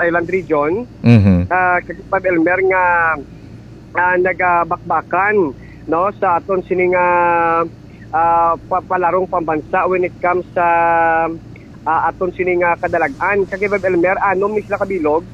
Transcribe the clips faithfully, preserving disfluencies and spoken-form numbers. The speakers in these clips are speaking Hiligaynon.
Island Region, Mhm. ah, kag Pab Elmer nga, ah, nagabakbakan, no, sa aton sining, ah, ah, pa-, palarong pambansa when it comes sa, ah, aton sining, ah, kadalag-an. Kag Pab Elmer, anom ni sila kabilog,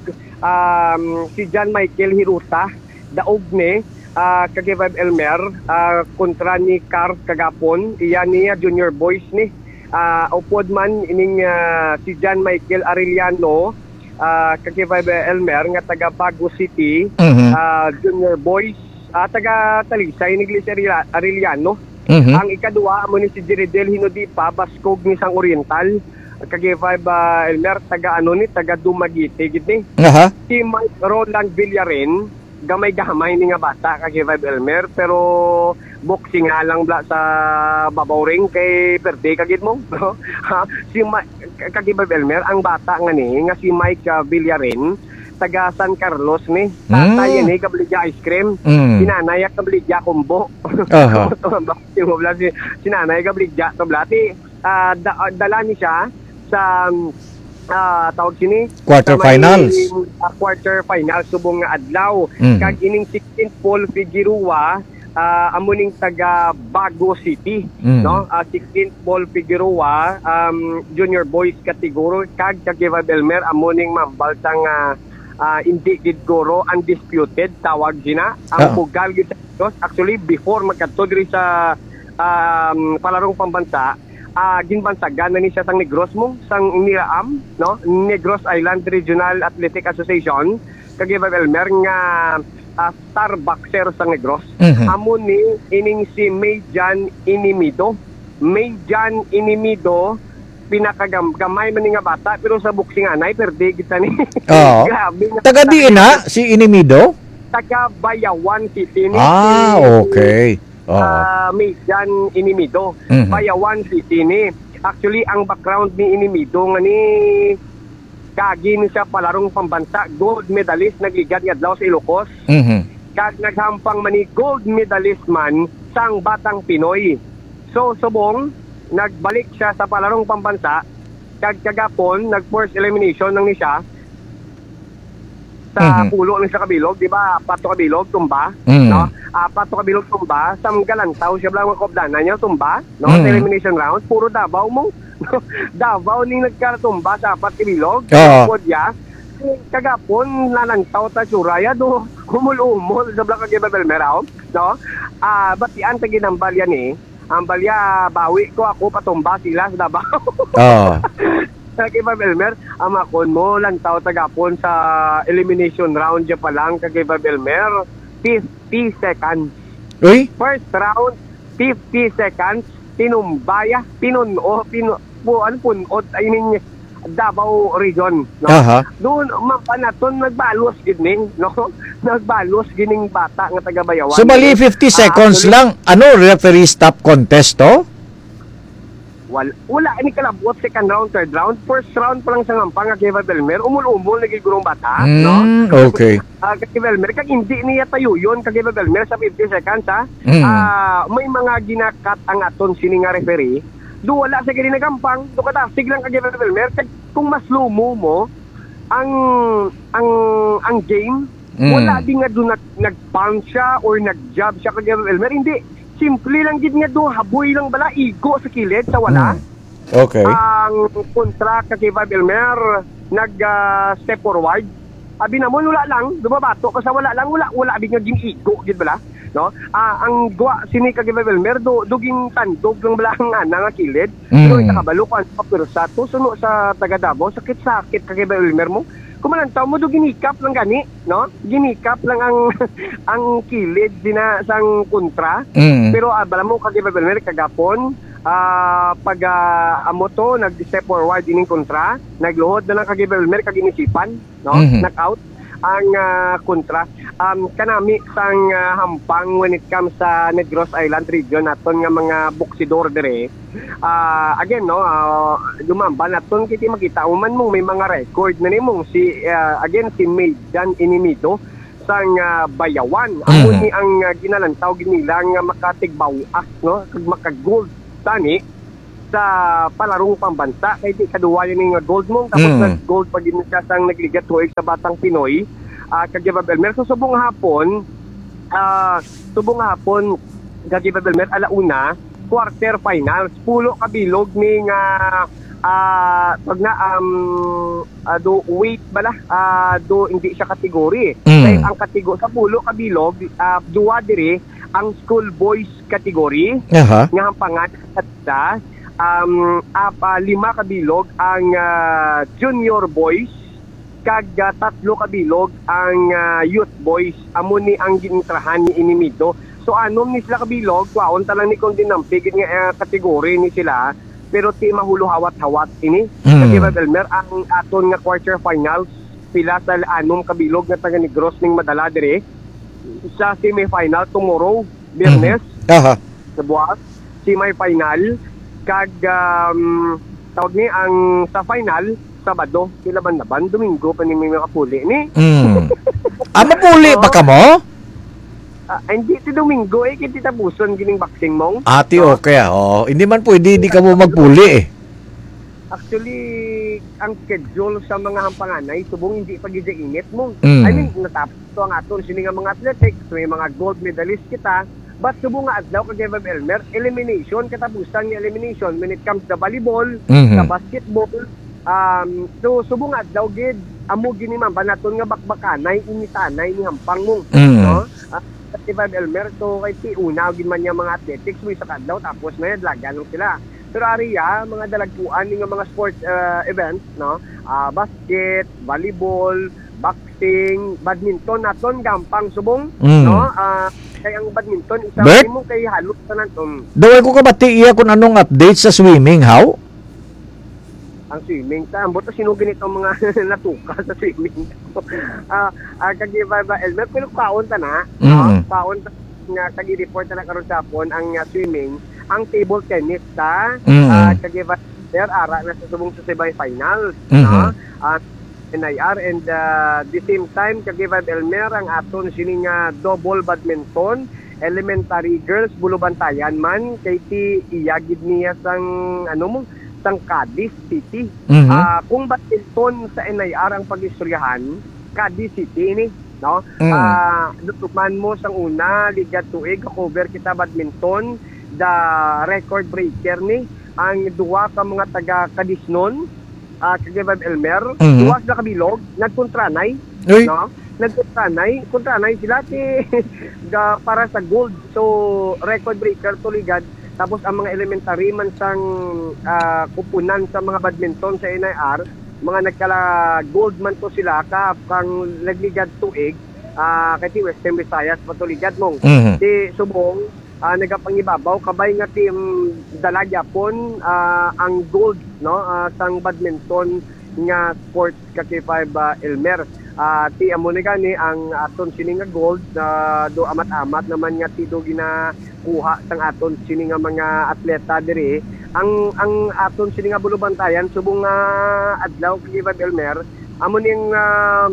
um, si John Michael Hiruta, daog ni, ah, kag Pab Elmer, ah, kontra ni Carl kagapon, iya niya junior boys ni. Ah, upod man ining, ah, si John Michael Arellano, ah, kag Pab Elmer nga taga Bago City, Mhm. ah, junior boys, ah, taga Talisay ni Glis Arella-, Arellano. Mhm. Ang ikaduha amo ni si Jeridel Hinodipa, baskog ni sang Oriental. Kag Pab, ah, Elmer, taga ano ni, taga Dumaguete gid ni. Aha. Si Mike Roland Villarin, gamay-gamay ni nga bata, kag Pab Elmer, pero boxing nga lang bla sa babaw ring kay perde ka gid mo, no? Ha, si Ma-, kag Pab Elmer, ang bata nga ni, nga si Mike, ah, Villarin, taga San Carlos ni. Tatay Mm. ni kabaligya ice cream. Mm. Si nanay kabaligya kumbo. Aha. Ito ang boxing mo bla, si, si nanay kabaligya to bla. Ti, ah, da-, ah, dala ni siya sa, ah, tawag sini? Quarter Sa may, finals. ah, quarter finals subong nga adlaw. Mhm. Kag ining si Clint Paul Figueroa, ah, amo ning taga Bago City, Mm. no? Ah, si Clint Paul Figueroa, um, junior boys category, kag kag Pab Elmer, amo ning mambal sang, ah, ah, hindi gid guro undisputed, tawag sina. Ang Ah. bugal gid sa Negros, actually, before magkadto diri sa, um, palarong pambansa, ah, ginbansagan na ni siya sang Negros mo, sang Niraam, no? Negros Island Regional Athletic Association, kag Pab Elmer nga, ah, star boxer sang Negros. Mhm. Amo ni ining si Mayjan Inimido. Mayjan Inimido, pinakagam-, gamay man ni nga bata, pero sa boxing anay, perde kita ni. Oo. Grabe nga Taga bata. diin na si Inimido? Taga Bayawan City ni Ah, si okay. Oo. ah, Mijan Inimido, Mhm. Bayawan City ni. Actually, ang background ni Inimido nga ni kagi ni siya palarong pambansa, gold medalist nagligad nga adlaw sa Ilocos. Mhm. Kag naghampang man ni gold medalist man sang Batang Pinoy. So, subong, nagbalik siya sa palarong pambansa, kag kagapon, nag first elimination lang ni siya, sa Mhm. pulo ni sa kabilog, di ba? Apat to kabilog, tumba, Mm. no? Apat to kabilog, tumba. Sa galantaw siya lang, mga kaupdanan niya, tumba, no? Sa Mm. elimination round, puro Davao mo. Davao ning nagkatumba sa apat kabilog. Oo. Podya. Kagapon, nalantaw ta, Suraya, do, humul-umol sa Black Agay Babelmeraw, no? Ah, batian ta ginambal yan, eh. Ang balya, bawi ko, ako patumba sila sa Davao. Oo. Kag Pab Elmer, ang makon mo, lantaw tagapon sa elimination round dyan pa lang, kag Pab Elmer, fifty seconds. Uy? First round, fifty seconds, tinumbaya, pinun-o, pinu-, pu-, ano, pun-ot, I mean, Davao Region, no? Aha. Doon, mapanaton, nagbalos gid ni, no? Nagbalos gining bata nga taga Bayawan. So, bali, fifty Ah, seconds actually, lang. Ano, referee stop contest to? Wal-, wala ni kalabot second round, third round. First round pa lang sa ngampang nga kay Pab Elmer, umul-umol na gid gurong bata, no? Mm, okay. Ah, kay Pab Elmer, kag hindi niya tayo yun, kay Pab Elmer, sa fifty seconds, ha? Mm. Ah, may mga ginakat ang aton sini nga referee. Do wala sa gini nagampang, do kadasig lang kay Pab Elmer, kag kung mas lumo mo, ang, ang, ang game, Mm. wala din nga do nag-, nag-pound siya or nag-jab siya kay Pab Elmer, hindi. Simple lang gid nga do, haboy lang bala, igo sa kilid, sa wala. Mm. Okay. Ang kontra ka kay Pab Elmer, nag, ah, step forward. Abi namon, wala lang, dumabato ka sa wala lang, wala, wala big nga ginigo gid bala, no? Ah, ang gwa sini ka kay Pab Elmer, do, do gintandog lang bala ang ana nga kilid. Pero Mm. ita kabalo ko, ano pa, pero sa to, suno sa taga Davao, sakit-sakit ka kay Pab Elmer mo. Kumalantaw mo, do ginikap lang gani, no? Ginikap lang ang, ang kilid dina sang kontra. Mm. Pero, ah, bala mo, kag Pab Elmer, kagapon, ah, pag, ah, amo to, nag-step forward ining kontra, nagluhod na lang kag Pab Elmer, kag inisipan, no? Mhm. Knockout ang, ah, kontra. Um, kanami sang, ah, hampang when it comes sa Negros Island region naton nga mga boksidor dire. Ah, again, no, ah, dumamba naton kiti makita mo man mo may mga record na nimo si, ah, again, si Mayjan Inimido sang, ah, Bayawan. Amo Mhm. ni ang, ah, ginalantaw gid nila nga makatigbawas, no? Kag makagold tani. sa palarong pambansa. Kay di kaduwa yan nga gold mo. Tapos Mm. nag-gold pa gid siya sang nagligad tuig sa Batang Pinoy. Ah, kag Elmer. So, subong hapon, ah, subong hapon, kag Elmer, ala una, quarter finals. Pulo ka bilog ni nga, ah, pag na, um, ah, do weight bala, ah, do hindi siya category. Mm. Kay ang katigo sa pulo ka bilog, ah, duwa diri ang school boys category Aha. nga hampangan sa, um, apa, lima ka bilog ang, ah, junior boys, kag, ah, tatlo ka bilog ang, ah, youth boys. Amo ni ang gintrahan ni Inimido. So, anom ni sila ka bilog, kwaon ta lang ni kung dinampi gid nga, ah, category ni sila, pero ti mahulo hawat-hawat ini. Mm. Kag Elmer, ang aton nga quarter finals, pila sa anom ka bilog nga taga Negros ning madala diri sa semifinal tomorrow, Biyernes, Mhm. Aha. sa buwas, semifinal, kag, um, tawag ni ang sa final, Sabado, pila ba na ba? Domingo pa ni may makapuli ni. Mm. Ah, mapuli pa Oo. ka mo? Ah, hindi, ti Domingo, eh, kay ti tapuson gining boxing mong. Ati, No? okay, ah. Oo. Hindi man pwede, hindi ka mo magpuli, eh. Actually, ang schedule sa mga hampanganay, subong hindi pa gid init mo. Mm. I mean, natapos to ang aton sini nga mga athletics, may mga gold medalist kita. But subong nga adlaw kag Elmer, elimination, katapusan nga elimination when it comes sa volleyball, Mhm. sa basketball. Um, so, subong nga adlaw gid, amo gini man ba naton nga bakbakanay, initanay ni hampang mo. Mm. No? Ah, Elmer, so kay ti una gid man niya mga athletics, mo isa ka adlaw, tapos may adlagan lang sila. Pero ari ya, mga dalagkuan ni nga mga sports, ah, events, no? Ah, basket, volleyball, boxing, badminton, naton gampang subong, Mm. no? Ah, kay ang badminton, isa Bert? mo kay halos tanan. Um, Daw ay ko kabati iya kung anong update sa swimming, how? Ang swimming, ta, ambot na sino ganito ang mga natuka sa swimming. Ah, ah, kag iba ba, Elmer, pero kaon ta na, Mm. no? Kaon ta nga kag i-report na karon sa hapon ang, ah, swimming, ang table tennis ta, Mm. ah, kag iba, Elmer, ara na sa subong sa semifinals, Mhm. no? Ah, N I R and, ah, the same time, kag iba, Elmer, ang aton sini nga double badminton, elementary girls, Bulubantayan man, kay ti iya gid niya sang, ano mo, sang Cadiz City. Mhm. Ah, kung badminton sa N I R ang pag-istoryahan, Cadiz City ini, no? Mm. Ah, dutuman mo sang una, ligad tuig, cover kita badminton, the record breaker ni, ang duha ka mga taga Cadiznon, ah, kag Elmer, Mhm. duha sila kabilog, nagkontranay, Uy. no? Nagkontranay, kontranay sila ti ga-, para sa gold. So, record breaker to ligad. Tapos ang mga elementary man sang, ah, kupunan sa mga badminton sa N I R, mga nagkala gold man to sila ka kang nagligad tuig, ah, kay ti Western Visayas pa to ligad mong. Mhm. Ti subong, ah, nagapangibabaw kabay nga ti, mm, dala gyapon, ah, ang gold, no, ah, sang badminton nga sports ka K five, ah, Elmer. Ah, ti amo ni gani ang aton sini nga gold, ah, do amat-amat naman nga ti do ginakuha sang aton sini nga mga atleta diri. Ang, ang aton sini nga Bulubantayan subong nga adlaw ka K five Elmer, amo ni ang, ah,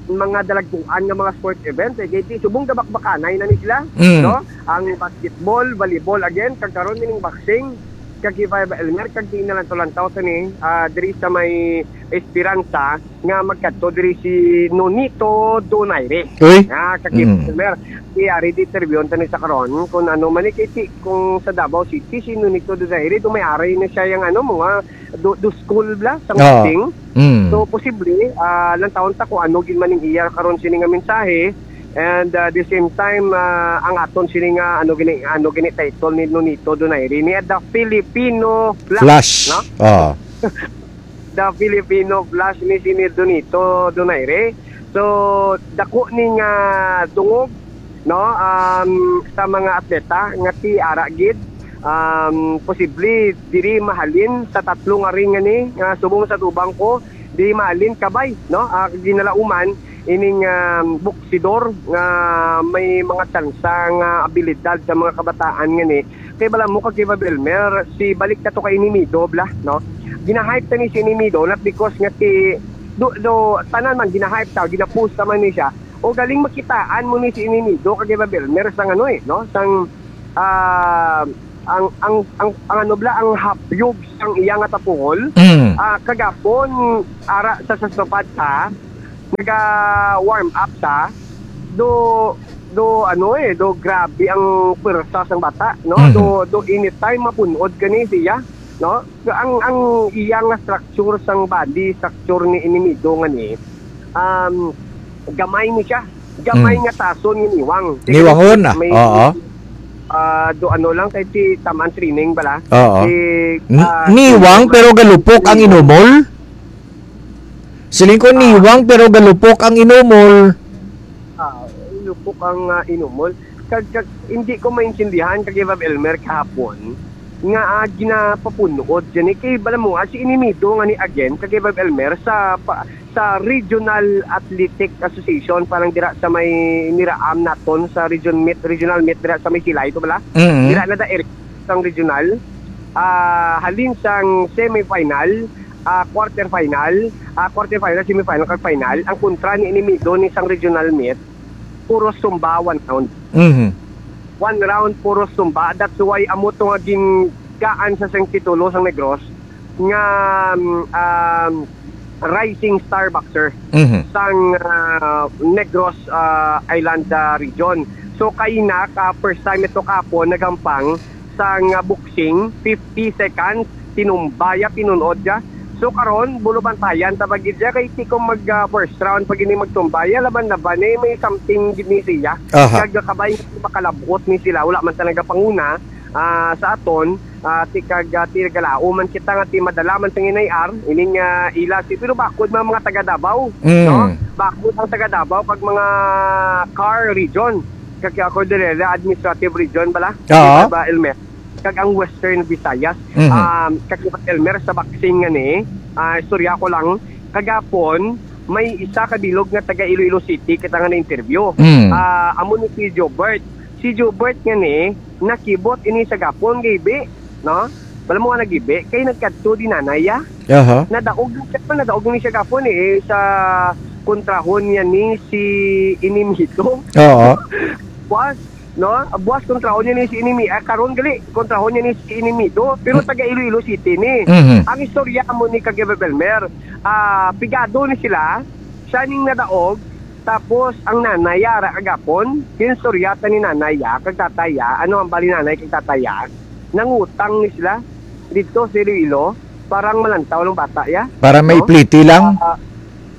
mga dalagkuan nga mga sports events, eh, kay ti subong gabakbakanay na ni sila, Mm. no? Ang basketball, volleyball, again, kag karon ining boxing, kag K five Elmer, kag di na lang to lantaw sa ni, ah, diri sa may Esperanza, nga magkadto diri si Nonito Donaire. Uy. Ah, kag Mm. Elmer, si ari di interviewon ta ni sa karon, kung ano man ni kay ti, kung sa Davao City, si Nonito Donaire, do may ari na siya yung ano, mga do, do school bla, sa Oo. boxing. Mm. So, posible, ah, lantawon ta kung ano gid man ning iya karon sini nga mensahe. And, ah, the same time, ah, ang aton sini nga, ano gini, ano gini title ni Nonito Donaire ni The Filipino Flash, Flash. no? Oo. The Filipino Flash ni sini Nonito Donaire. So, dako ni nga dungog, no, um, sa mga atleta nga ti ara gid, um, posible diri mahalin sa tatlo nga ring nga ni, nga subong sa tubang ko, diri mahalin kabay, no, ah, ginalauman ining, um, boksidor nga may mga tsansa nga abilidad sa mga kabataan nga ni. Kay bala mo kag Kiba Belmer, si balik na to kay Inimido, bla, no? Ginahype ta ni si Inimido, not because nga ti, do, do, tanan man, ginahype ta, ginapost ta man ni siya. O galing makitaan mo ni si Inimido kag Kiba Belmer sang ano eh, no? Sang, ah, ang ang ang, ang ano bala, ang habyog sang iya nga tapuhol. Mm. Ah, kagapon, ara sa, sa sofa ta, naga-warm up ta, do do ano eh, do grabe ang pwersa sang bata, no? Mhm. Do do anytime mapun-od gani siya, no? So, ang ang iya nga structure sang body, structure ni Inimido nga ni, um, gamay ni siya. Gamay Mm. nga tason ni Niwang. Sige, Niwangon na. May, Oo. ah, do ano lang kay si taman training bala. Oo. Si, N- ah, Niwang, si pero galupok ang inumol? Siling ko, Ah. Niwang, pero galupok ang inumol. Ah, lupok ang, ah, inumol. Kag, kag, hindi ko maintindihan kag Bob Elmer kahapon nga, ah, ginapapun-od gani kay bala mo, ah, si Inimido nga ni again kag Bob Elmer sa pa, sa Regional Athletic Association, parang dira sa may niraam naton sa region meet, regional meet dira sa may Silay to bala. Mm. Dira na da area sang regional. Ah, halin sang semifinal, ah, quarterfinal, ah, quarterfinal, semifinal, kag final, ang kontra ni Inimido ni sang regional meet, puro sumba one round. Mhm. One round, puro sumba. That's why amo to nga gingaan sa sang titulo sang Negros nga, um, um, rising star boxer Mhm. sang, ah, Negros, ah, Island, ah, region. So, kaina ka first time ito kapon nagampang sang, ah, boxing, fifty seconds, tinumba ya, pinunod ya. So, karon, bulo bantayan ta pa gid ya, kay ti ko mag, ah, first round pa gini magtumba ya, laban-laban eh, may something gid ni siya. Aha. Kag kabay makalabot ni sila, wala man talaga panguna, ah, sa aton, ah, ti kag, ah, ti nagalaom man kita nga ti madala man sa N I R, ining, ah, ila si, pero bakod mga, mga taga Davao, Mm. no? Bakod ang taga Davao kag mga car region, kag Cordillera Administrative Region bala, Oo. Di ba, Elmer? Kag ang Western Visayas. Mhm. Um, kag Elmer, sa boxing nga ni, ah, istorya ko lang, kagapon, may isa ka bilog nga taga Iloilo City kita nga na-interview. Mm. Ah, amo ni si Jobert. Si Jobert nga ni, nakibot ini sa gapon, gibi, no? Wala mo nga nagibi, kay nagkadto di nanay, ah. Aha. Nadaog na siya, nadaog ni siya gapon eh, sa kontrahon niya ni si Inimito. Oo. Buwas, no? Buwas kontrahon niya ni si Inimi, ah, karon gali, kontrahon niya ni si Inimito, pero Mm. taga Iloilo City ni. Mhm. Ang istorya mo ni Kagebe Belmer, ah, pigado ni sila, siya ning nadaog, tapos ang nanay, ah, ra kagapon, ginsuryatan ni nanay, ah, kag tatay, ah, ano ang bali nanay kag tatay, ah, nangutang ni sila dito sa Iloilo, parang malantaw lang bata, ya. Para may No? pliti lang? Ah,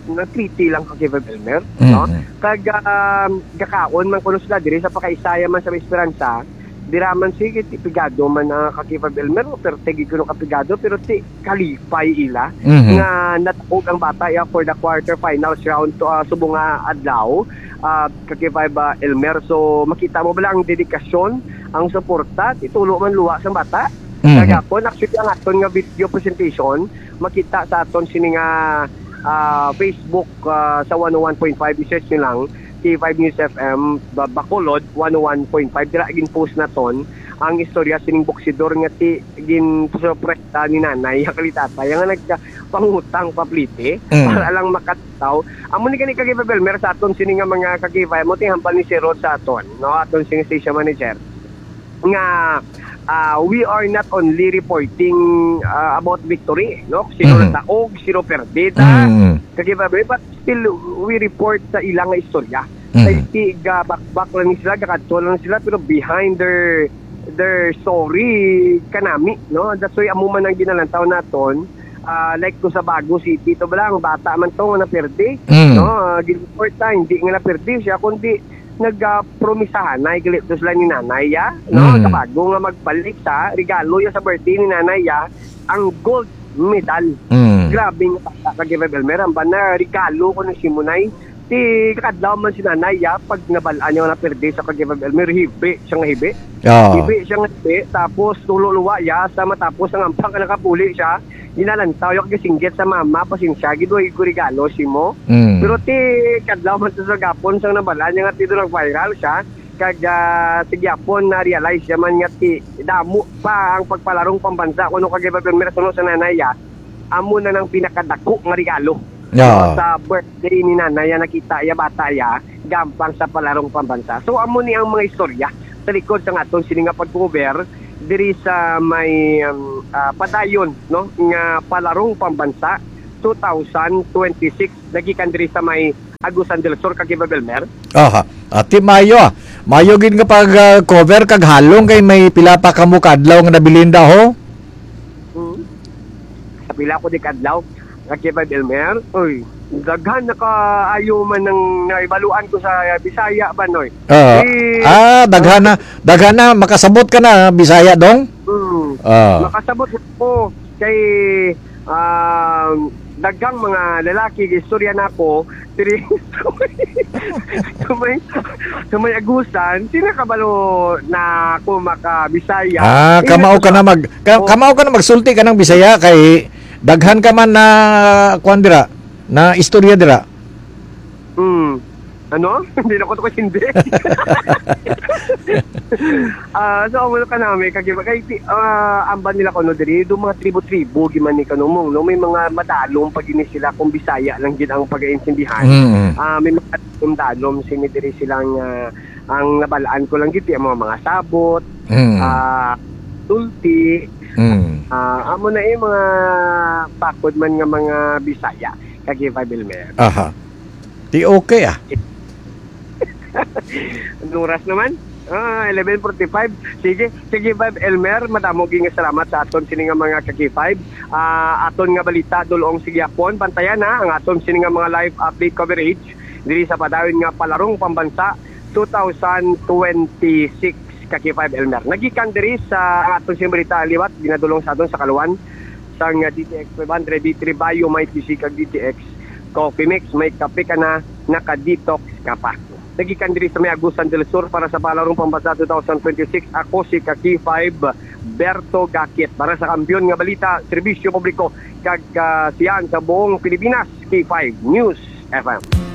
may pliti lang kag Kevin Elmer, no? Mhm. Kag, um, gakaon man kuno sila diri sa Pakaisaya man sa Esperanza, dira man sige, ti pigado man, ah, kag Kevin Elmer, pero tigi kuno ka pigado, pero ti kalipay ila Mhm. nga nataog ang bata, ya, for the quarter finals round to, ah, subong nga adlaw, ah, kag Kevin, ah, Elmer. So, makita mo bala ang dedikasyon, ang suporta, ti tulo man luwa sang bata. Mhm. Kagapon, actually, ang aton nga video presentation, makita sa aton sini nga, ah, Facebook, ah, sa one oh one point five, i-search nyo lang, K five News F M, Ba-, Bacolod, one oh one point five, dira gin-post naton ang istorya sining boksidor nga ti ginsupresta ni nanay, ang kalitatay, nga nagpangutang pa pliti, Mm. para lang makataw. Amo ni gani kag Belmer sa aton sini nga mga kag-, mo ti hambal ni Sir Rod sa aton, no? Aton sini station manager. nga, ah, we are not only reporting, ah, about victory, no? Sino Mhm. nataog, sino perdida, Mhm. kag iba, but still we report sa ilang nga istorya. Mhm. Kay ti ga bakbak lang ni sila, gakadto lang sila, pero behind their their story kanami, no? That's why amo man ang ginalantaw naton. Ah, like ko sa Bago City, to bala, ang bata man to nga naperde, Mhm. no? Ah, gin-report na, hindi nga naperde siya, kundi nagpromisahan na igalito sila ni nanay, ya, no? Mm. Kabago nga magbalik sa regalo ya sa birthday ni nanay, ya, ang gold medal. Mm. Grabe nga bata ka, Gilbert Elmer. Ang bana, regalo ko ni Simonay. Ti kadlaw man si nanay, ya, pag nabal-an niya na pirdi sa kag Gilbert Elmer, hibi siya nga hibi. Oo. Hibi siya nga hibi. Tapos, tulo luwa, ya, sa matapos ang ampang ka nakapuli siya. Ginalantaw yung kasinggit sa mama, pasensya, gid, way ko regalo, Simo. Mm. Pero ti kadlaw man sa gapon sang nabal-an niya nga ti nag-viral siya, kag, ah, sa gyapon na-realize niya man nga ti damo pa ang pagpalarong pambansa kuno kag iba pirmi suno sa nanay, ah. Amo na nang pinakadako nga regalo. Yeah. Sa birthday ni nanay, ah, nakita iya bata iya gampang sa palarong pambansa. So amo ni ang mga istorya sa likod sa aton sini nga pag-cover diri sa may, um, ah, padayon, no, nga Palarong Pambansa two thousand twenty-six, nagikan diri sa may Agusan del Sur, Caguiba, Belmer. Aha. Ati, mayo, ah. Mayo gid nga pag, ah, cover kag halong kay may pila pa kamo ka adlaw nga nabilin da, ho? Hmm. Sa pila ko di ka adlaw, Caguiba, Belmer. Uy, daghan na kaayo man ang naibaluan ko sa Bisaya ba, noy. Ah, Eh, ah, daghan na, daghan na makasabot ka na Bisaya, dong? Hmm. Ah. Makasabot na ko kay, um, daghang mga lalaki istorya nako diri sa may, sa may Agusan, sila kabalo na ako makabisaya. Ah, Sila kamao ka na mag ka, Oh. kamao ka na magsulti ka ng Bisaya kay daghan ka man na kuan dira, na istorya dira. Hmm. Ano? Hindi na ko to kasindi. Ah, so, amo ka namin, kag kay, ah, amban nila ko, no, diri, do mga tribo-tribo, giman ni kanumong, no, may mga madalom pa gini sila kung Bisaya lang gid ang pag-iintindihan. Mm. Ah, may mga dalom sini diri silang, ah, ang nabalaan ko lang gid, ang mga, mga sabot, Mm. ah, tulti, Mm. ah, amo na, eh, mga bakod man nga mga Bisaya, kag Five Elmer. Aha. Di okay, ah. Anong oras naman? Ah, eleven forty-five. Sige, sige, Five Elmer, madamo gid nga salamat sa aton sini nga mga ka-K five. Ah, aton nga balita, dulong sige hapon, bantayan na ang aton sini nga mga live update coverage diri sa padayon nga Palarong Pambansa two thousand twenty-six, ka-K five Elmer. Nagikan diri sa aton sini balita liwat, ginadulong sa aton sa kaluan sang D T X five hundred, D three Bio, may P C kag D T X Coffee Mix, may kape ka na, naka-detox ka pa. Nagikan diri sa may Agusan del Sur para sa Palarong Pambansa two thousand twenty-six, ako si ka-K five Berto Gakit. Para sa Kampiyon nga Balita, Serbisyo Publiko, kag, ah, siyan sa buong Pilipinas, K five News F M.